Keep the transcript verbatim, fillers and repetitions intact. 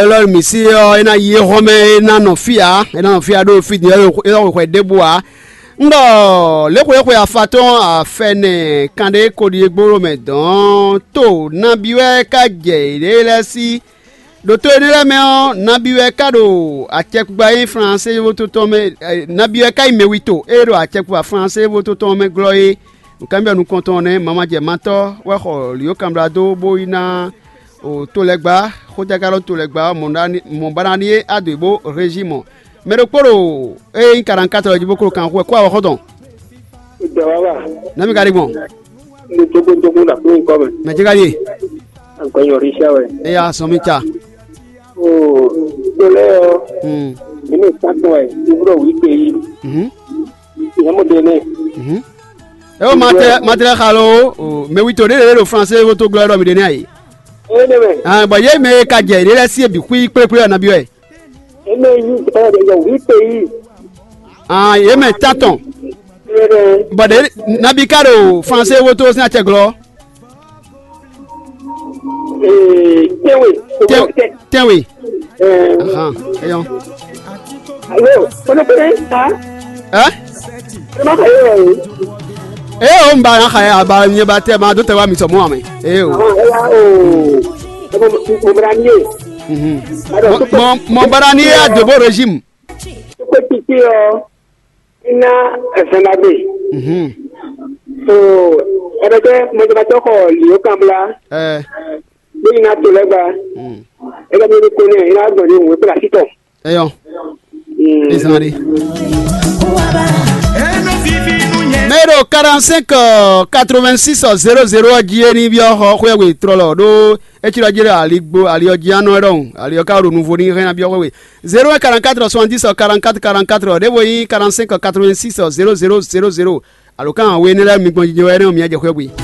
Élɔ́ mǐ sí ɔ́, é ná yi éhɔ́mɛ, é ná nɔ fí ǎ, é ná nɔ fí ǎ ɖó fí din ɔ́, é ná xwexwe ɖěbǔ ǎ. Un ɖɔ léxwéxwe afatɔ́n afɛnɛ kanɖé kodi e gbóɖó mɛ dɔn tó nabí wɛ ka jɛ yěɖée lɛ́ɛ sí. Ɖo to énɛ́ lɛ́ɛ mɛ ɔ́, nabí wɛ ka ɖo acɛkpikpa e nyí Flansée vo to tɔn mɛ, nabí wɛ ka nyí mɛwito e ɖo acɛkpikpa Flansée vo to tɔn mɛ glɔ́ é. Nǔkanbyɔ́ nukɔntɔn nɛ́ mamajɛmatɔ́ wɛ xɔ lǐyó kanbla dó bó yi ná o to lɛ́ɛ gbá, xójágálɔ to lɛ́ɛ gbá, mɔ̌ ba ná ɖíe adǒ bó régi mɔ. Mɛ ɖokpó ɖo ée nyí karantkátrɔ jí bó klo kanxú wɛ kó awɔxɔ́ tɔn. Dɔwáwa. Nɛ́ mi ka ɖi gbɔn? Ní tókótókó ɖo aklúnukɔ mɛ. Mɛ jɛ ka ɖíe? Agbɛnyɔ Richard wɛ. Eya sɔn mi ca. Oo, to lɛ́ɛ ɔ́, Hmm. Mǐ mɛ sátɔn wɛ, wúɖɔ wǐ kpe yí. Mhm. Ìyá mɔ ɖe nɛ. Mhm. E o ma tɛ ma tɛ xa lo o mɛ wi to ɖe ɖe ɖo Flansée wo to glɔ ɖɔ mi ɖe nɛ ayi. Ee ne mɛ. Ah, bɔn ye mɛ ka jɛ ɖe lɛ si bi xwi kplekple ɔna bi wɛ. Eme yi ɛ yɛ wí pe yi. Ah, ye mɛ tatɔn. Ee ne. Bɔn ɖe nabi ka ɖo Flansée wo to sin acɛ glɔ. Ee, tɛnwe. Tɛnwe. Tɛnwe. Ɛɛ. Ahan, eyɔn. Alo, kɔnɔkɔnɔ ha. Ɛ? Ɛ ma ka yɛ o. Ee, o n ba na xa ya ba nyɛ ba tɛ ma do tɛ wa mi sɔ mɔ amɛ. Ee o. Ahan, ɛya o. Ɛ mɔ mɔ mɔ ni ye. Mhm. Alo, mɔ mɔ bara ni ye adobo regime. Kókó títí ɔ, iná ɛfɛ ma gbé. Mhm. So, ɛbɛ jẹ́ mɔjɔbatɔ xɔ liyo kanbla. Ɛ. Bí iná to lɛ gba. Mm. Ɛ bɛ mi ko ne iná gbɔn ní òwe kpla títɔ. Eyɔn. Mm. Ezan ɖe. Mɛ ɖo quarante-cinq quatre-vingt-six zéro zéro ɔ́ jí é ní byɔ́ xɔ xwé we trɔlɔ ɖó é cí ɖɔ jí ɖɔ ali gbo ali ɔ́ jí anɔ ɖɔhun ali ɔ́ ka ɖo nuvo ní hɛn ná byɔ́ xwé we zéro un quarante-quatre soixante-dix quarante-quatre quarante-quatre ɖěvo nyí quarante-cinq quatre-vingt-six zéro zéro zéro zéro. Alo kan we énɛ́ lɛ́ɛ mi gbɔn jijɛ wɛ énɛ́ ɔ́ mi jɛ xwé we.